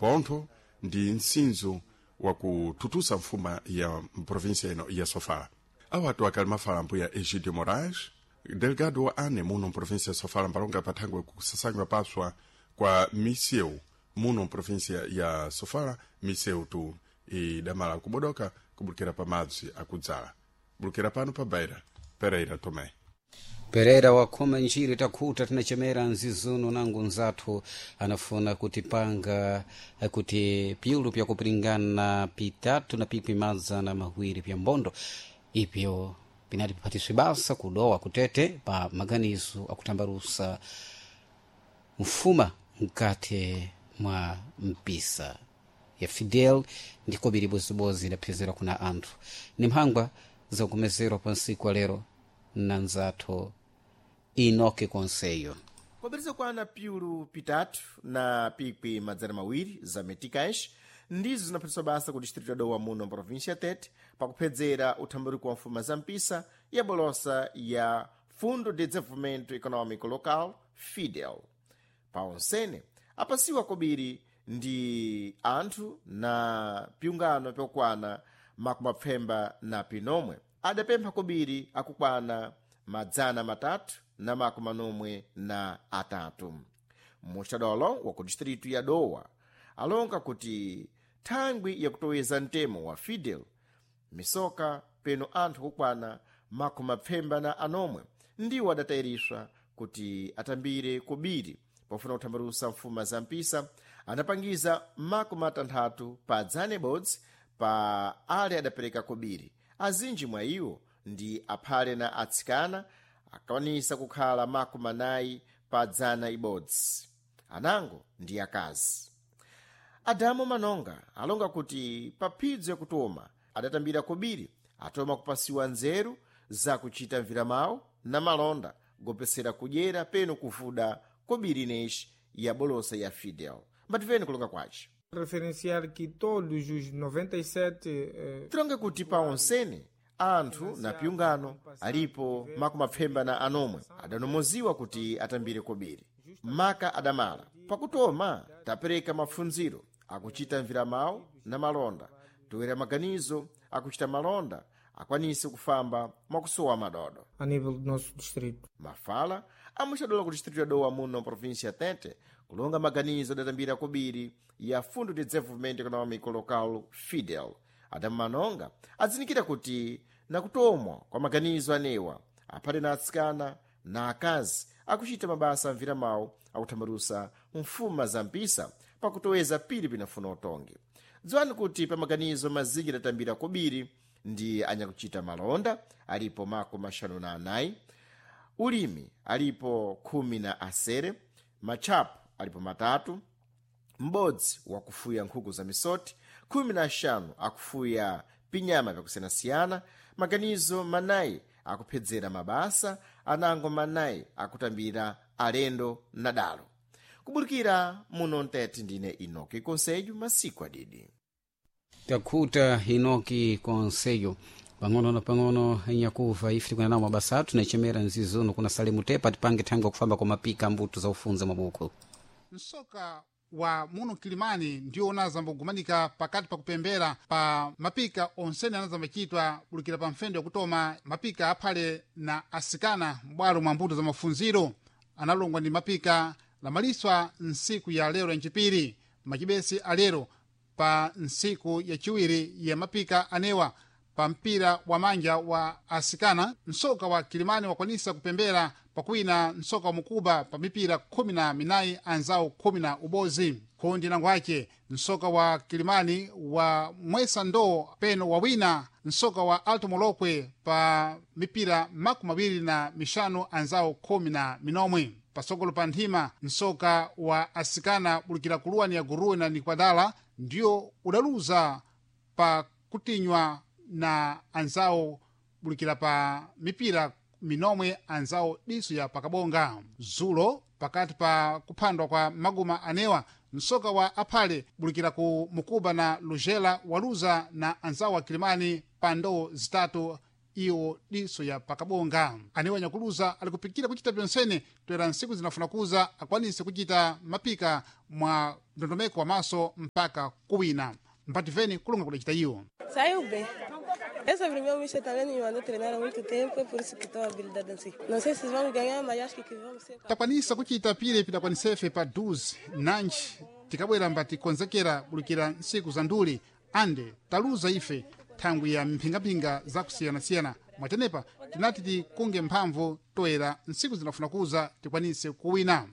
Pontho ndi msinzo wakututusa mfuma ya mprovinsia ino ya Sofala. Awatu akali mafala mbuya Egidio Moraes, delegado wa ane muno mprovinsia ya Sofala, mbalonga pathangwe kusasanywa paswa kwa misewu muno mprovinsia ya Sofala. Misewu tu idamala kubodoka kubulukira pa madzi akudzala bulukira pano pa Beira. Pereira Tomé. Pereira wakhoma njiri takhuta tinachemera nzizuno nangu nzathu anafuna kutipanga kuti piulu pyakupiringana pitatu na pikwi madzana mawiri pya mbondo ipyo pinati piphatiswe basa kudowa kutete pa maganizo akutambarusa mfuma mkati mwa mpisa ya Fidel ndiko biri bozibozi idaphezera kuna anthu ni mphangwa zakumezerwa pa nsiku alero na nzathu Inoke Konseyo. Kwabiriza kwana piulu pitatu na pikwi madzana mawiri za meticais ndizo zinaphatiswa basa ku distrito ya Dowa muno mprovinsia ya Tete pakuphedzera uthambaruko wa mfuma za mpisa ya bolosa ya Fundo de Desenvolvimento Econômico Local, FIDEL. Pa onsene apasiwa kobiri ndi anthu na piungano pyokwana makumapfemba na pinomwe adapempha kobiri akukwana 343. Muxadolo wa ku distritu ya Dowa alonga kuti thangwi yakutoweza mtemo wa Fidel misoka peno anthu kukwana makumapfemba na anomwe ndiwo adatayiriswa kuti atambire kobiri pofuna kuthambalusa mfuma za mpisa. Anapangiza 60 pa dzana ibodzi pa ale adapereka kobiri. Azinji mwa iwo ndi aphale na atsikana akwanisa kukhala 40 pa dzana ibodzi, anango ndi akazi. Adamu Manonga alonga kuti pa phidzo yakutoma adatambira kobiri atoma kupasiwa nzeru zakuchita mviramawo na malonda gopesera kudyera peno kuvuda kobiri ineyi ya bolosa ya Fidel. Mbativeni kulonga kwace. Referenciar que todos os 97 Tilonge kuti pa onsene anthu na piungano alipo makumapfemba na anomwe adanomoziwa kuti atambire kobiri maka adamala. Pakutoma tapereka mapfundziro akuchita mviramawo na malonda, toera maganizo akuchita malonda akwanise kufamba mwakusowa madodo. A nível do nosso distrito. Mafala amuxadola ku distrito ya Dowa muno província ya Tete kulonga maganizo adatambira kobiri ya Fundo de Desenvolvimento Econômico Local, Fidel. Adamu Manonga adzinikira kuti nakutomwa kwa maganizo anewa aphale na atsikana na akazi akuchita mabasa amviramawo akuthambalusa mfuma za mpisa pakutoweza pili pinafuna utongi. Dziwani kuti pa maganizo mazinji adatambira kobiri ndi anyakuchita malonda alipo 54, ulimi alipo 16, matchapo alipo 3, m'bodzi wakufuya nkhuku za misoti, 15 akufuya pinyama vyakusiyanasiyana, maganizo manayi akuphedzera mabasa, anango manayi akutambira alendo na dalo. Kubulikira muno mtete, ndine Inoki Konsejo, masiku adidi. Takhuta Inoki Konseyo. Pang'ono na pang'ono nyakuva ife tikuna nawo mabasa athu nachemera nzizuno kuna Salemu Tepa tipange thangwi kufamba kwa mapika mbuto za ufunza mabuku. Msoka wa muno Kilimani ndiwo unazambogumanika pakati pa kupembera pa mapika onsene anazambachitwa bulukira pa mfendo yakutoma mapika aphale na asikana m'bwalo mwa mbuto za mafunziro analongwa ndi mapika lamaliswa nsiku ya lero yancipiri machibesi alero pa nsiku yaciwiri ya mapika anewa. Pa mpira wa manja wa asikana, msoka wa Kilimani wakwanisa kupembera pakwina msoka wa Mukuba pa mipira 14 anzawo 11. Kundi nango ace msoka wa Kilimani wa mwesa ndoo peno wawina msoka wa Alto Molokwe pa mipira 25 anzawo 19. Pasogolo pa nthima, msoka wa asikana bulikira kuluwani ya Guruwe na Nikwadala ndiyo udaluza pa kutinywa na anzawo bulikira pa mipira minomwe anzawo diso ya pakabonga. Zulo pakati pa kuphandwa kwa maguma anewa, msoka wa aphale bulikira ku Mukuba na Lujela waluza na anzawo wa Kilimani pa ndoo 3 Iwo diso ya pakabonga anewo anyakuluza ali kupikira kuchita pyonsene toera ntsiku zinafuna kuza akwanise kuchita mapika mwa ndondomeko wa maso mpaka kuwina mpativeni kulonga kudacita iwo. Saiu bem. É sobre o meu mister também me mandou treinar há muito tempo, é por isso que estou habilidade assim. Não sei se vamos ganhar, mas acho que vamos ser. Takwanisa kuchita pile pidakwanisefe pa 12 nanji tikabwera mbatikonzekera bulukira ntsiku za nduli ande taluza ife thangwi ya mphingaphinga zakusiyanasiyana mwatenepa tinati tikunge mphamvu toera ntsiku zinafuna kuza tikwanise kuwina.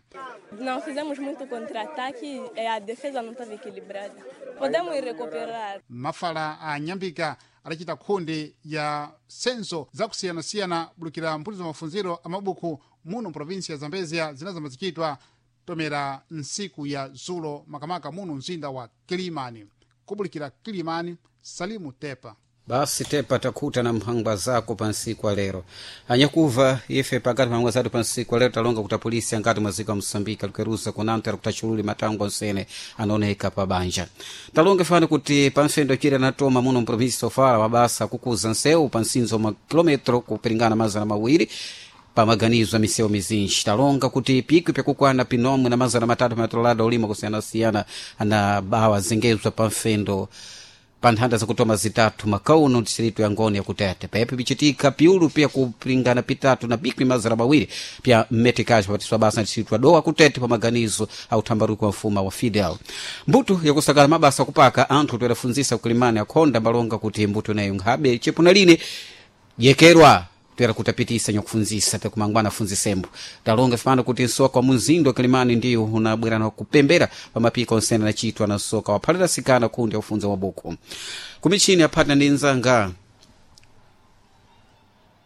Não fizemos muito contra-ataque e a defesa não estava equilibrada. Podemos recuperar. Mafala a nyambika adacita khunde ya senso zakusiyanasiyana bulukira mphutizo mafunziro a mabuku muno mprovinsi ya Zambezia zinazambazichitwa tomera ntsiku ya zulo makamaka muno mzinda wa Kilimani. Kubulikira Kilimani, Salimu Tepa. Basi Tepa, takhuta na mphangwa zako pansiku lero. Anyakuva ife pakati mphangwa zathu pansiku lero talonga kuti apolisi angati mwaziko a Moçambique alikuweruza kunanta alikuta matango onsene anaoneka pa banja. Talonga fani kuti pamfendo chire anatoma muno mprovinsi Sofala mabasa akukuza nsewu pa nsinzo mwa kilometro kupiringana 200 pamaganizo a misewu mizinji. Talonga kuti pikwi pyakukwana pinomwe na 300 matolada olima kusiyanasiyana na bawa zengezwa pamfendo pa nthanda zakutoma zitatu makauno distritu ya Ngoni yakutete pepi pichitika piulu pya kupingana pitatu na bikwi 200 pya mmetikaji patiswa basa na distritu ya Dowa kutete pa maganizo au thambaruko wa mfuma wa Fidel. Mbuto yakusakala mabasa kupaka anthu toyerafunzisa kulimani akhonda mbalonga kuti mbuto nayo nkhabe chepuna line jekerwa toyera kutapitisa nyakufunzisa takumangwana afunzisembo. Talonga fano kuti nsoka wa munzindo Kilimani ndiwo unabwera na kupembera pamapika onsene anachitwa na nsoka waphalira sikana kundi aufunza mabuku kumichini aphata ndi nzanga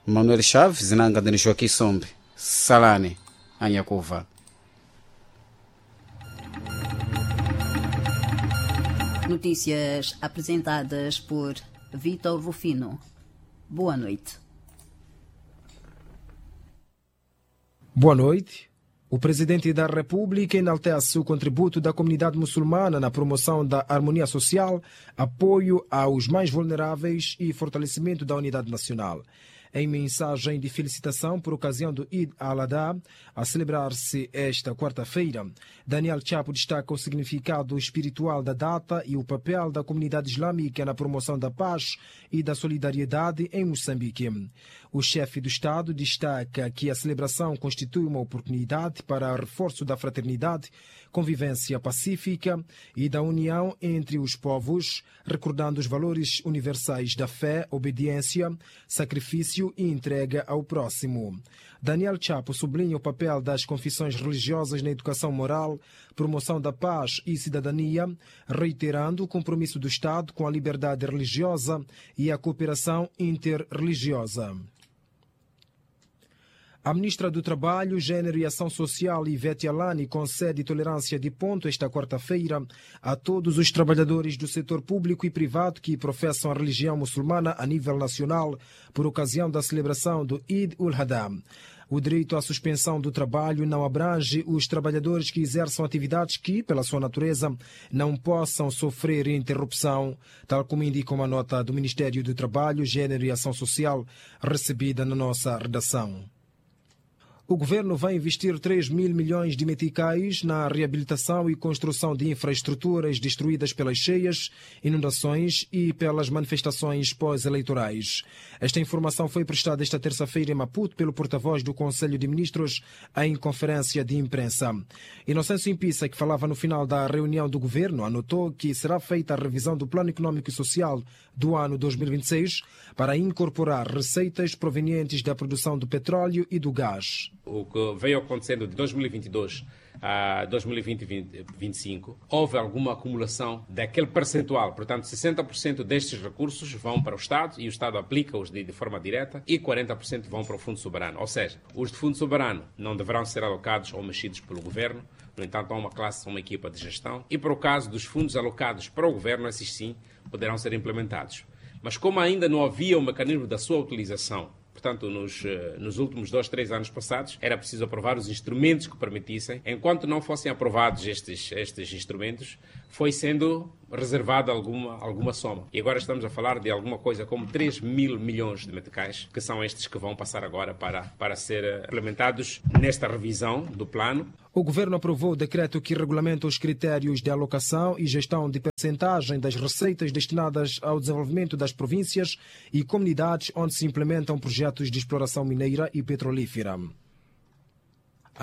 Manuel Chaves zinanga ndini Joaquim Sombe. Salani anyakuva. Notícias apresentadas por Vitor Rufino. Boa noite. Boa noite. O presidente da República enaltece o contributo da comunidade muçulmana na promoção da harmonia social, apoio aos mais vulneráveis e fortalecimento da unidade nacional. Em mensagem de felicitação por ocasião do Eid al-Adha, a celebrar-se esta quarta-feira, Daniel Chapo destaca o significado espiritual da data e o papel da comunidade islâmica na promoção da paz e da solidariedade em Moçambique. O chefe do Estado destaca que a celebração constitui uma oportunidade para o reforço da fraternidade, convivência pacífica e da união entre os povos, recordando os valores universais da fé, obediência, sacrifício e entrega ao próximo. Daniel Chapo sublinha o papel das confissões religiosas na educação moral, promoção da paz e cidadania, reiterando o compromisso do Estado com a liberdade religiosa e a cooperação interreligiosa. A ministra do Trabalho, Gênero e Ação Social, Ivete Alani, concede tolerância de ponto esta quarta-feira a todos os trabalhadores do setor público e privado que professam a religião muçulmana a nível nacional por ocasião da celebração do Eid ul-Adha. O direito à suspensão do trabalho não abrange os trabalhadores que exerçam atividades que, pela sua natureza, não possam sofrer interrupção, tal como indica uma nota do Ministério do Trabalho, Gênero e Ação Social recebida na nossa redação. O governo vai investir 3 mil milhões de meticais na reabilitação e construção de infraestruturas destruídas pelas cheias, inundações e pelas manifestações pós-eleitorais. Esta informação foi prestada esta terça-feira em Maputo pelo porta-voz do Conselho de Ministros em conferência de imprensa. Inocêncio Impissa, que falava no final da reunião do governo, anotou que será feita a revisão do Plano Econômico e Social do ano 2026 para incorporar receitas provenientes da produção do petróleo e do gás. O que veio acontecendo de 2022 a 2025, houve alguma acumulação daquele percentual. Portanto, 60% destes recursos vão para o Estado e o Estado aplica-os de forma direta e 40% vão para o Fundo Soberano. Ou seja, os de Fundo Soberano não deverão ser alocados ou mexidos pelo Governo. No entanto, há uma classe, uma equipa de gestão. E para o caso dos fundos alocados para o Governo, esses sim poderão ser implementados. Mas como ainda não havia um mecanismo da sua utilização, portanto, nos últimos 2, 3 anos passados, era preciso aprovar os instrumentos que permitissem. Enquanto não fossem aprovados estes instrumentos, foi sendo reservado alguma soma. E agora estamos a falar de alguma coisa como 3 mil milhões de meticais, que são estes que vão passar agora para ser implementados nesta revisão do plano. O governo aprovou o decreto que regulamenta os critérios de alocação e gestão de percentagem das receitas destinadas ao desenvolvimento das províncias e comunidades onde se implementam projetos de exploração mineira e petrolífera.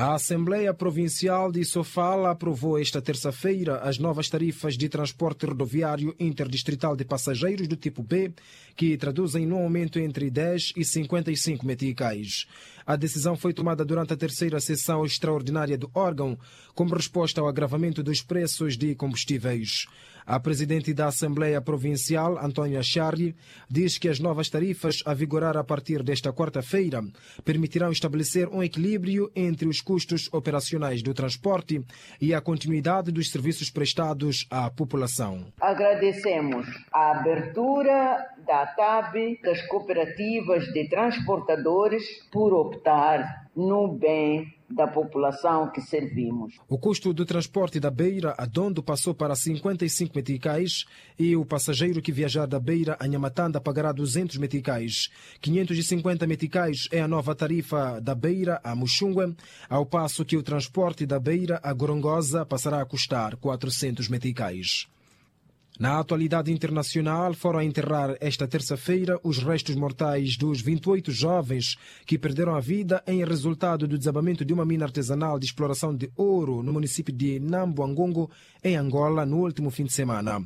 A Assembleia Provincial de Sofala aprovou esta terça-feira as novas tarifas de transporte rodoviário interdistrital de passageiros do tipo B, que traduzem num aumento entre 10 e 55 meticais. A decisão foi tomada durante a terceira sessão extraordinária do órgão, como resposta ao agravamento dos preços de combustíveis. A presidente da Assembleia Provincial, Antónia Charri, diz que as novas tarifas a vigorar a partir desta quarta-feira permitirão estabelecer um equilíbrio entre os custos operacionais do transporte e a continuidade dos serviços prestados à população. Agradecemos a abertura da TAB, das cooperativas de transportadores, por optar no bem da população que servimos. O custo do transporte da Beira a Dondo passou para 55 meticais e o passageiro que viajar da Beira a Nhamatanda pagará 200 meticais. 550 meticais é a nova tarifa da Beira a Muxungue, ao passo que o transporte da Beira a Gorongosa passará a custar 400 meticais. Na atualidade internacional, foram a enterrar esta terça-feira os restos mortais dos 28 jovens que perderam a vida em resultado do desabamento de uma mina artesanal de exploração de ouro no município de Nambuangongo, em Angola, no último fim de semana.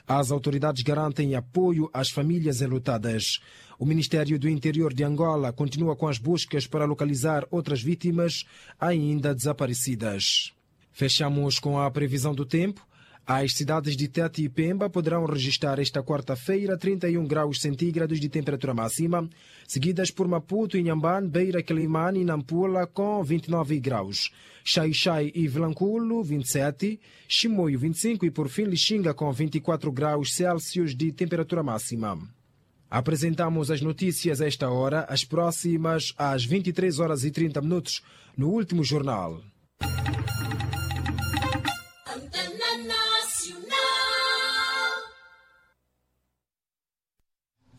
As autoridades garantem apoio às famílias enlutadas. O Ministério do Interior de Angola continua com as buscas para localizar outras vítimas ainda desaparecidas. Fechamos com a previsão do tempo. As cidades de Tete e Pemba poderão registrar esta quarta-feira 31 graus centígrados de temperatura máxima, seguidas por Maputo, Inhambane, Beira, Quelimane e Nampula com 29 graus. Xai-Xai e Vilanculo, 27, Chimoio, 25 e por fim Lixinga com 24 graus Celsius de temperatura máxima. Apresentamos as notícias a esta hora, as próximas às 23 horas e 30 minutos, no último jornal.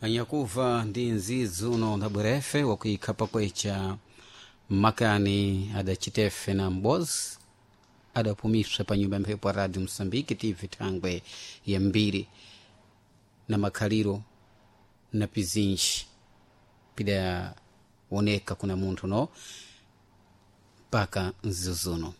Anyakuva ndi nzizi uno na burefe wakuikhapa kwecha makani adacitefe na mbozi adapumiswa pa nyumba mphepo ya radio Moçambique tv thangwe ya mbiri na makhaliro na pizinji pidaoneka kuna munthu no mpaka nzizi uno.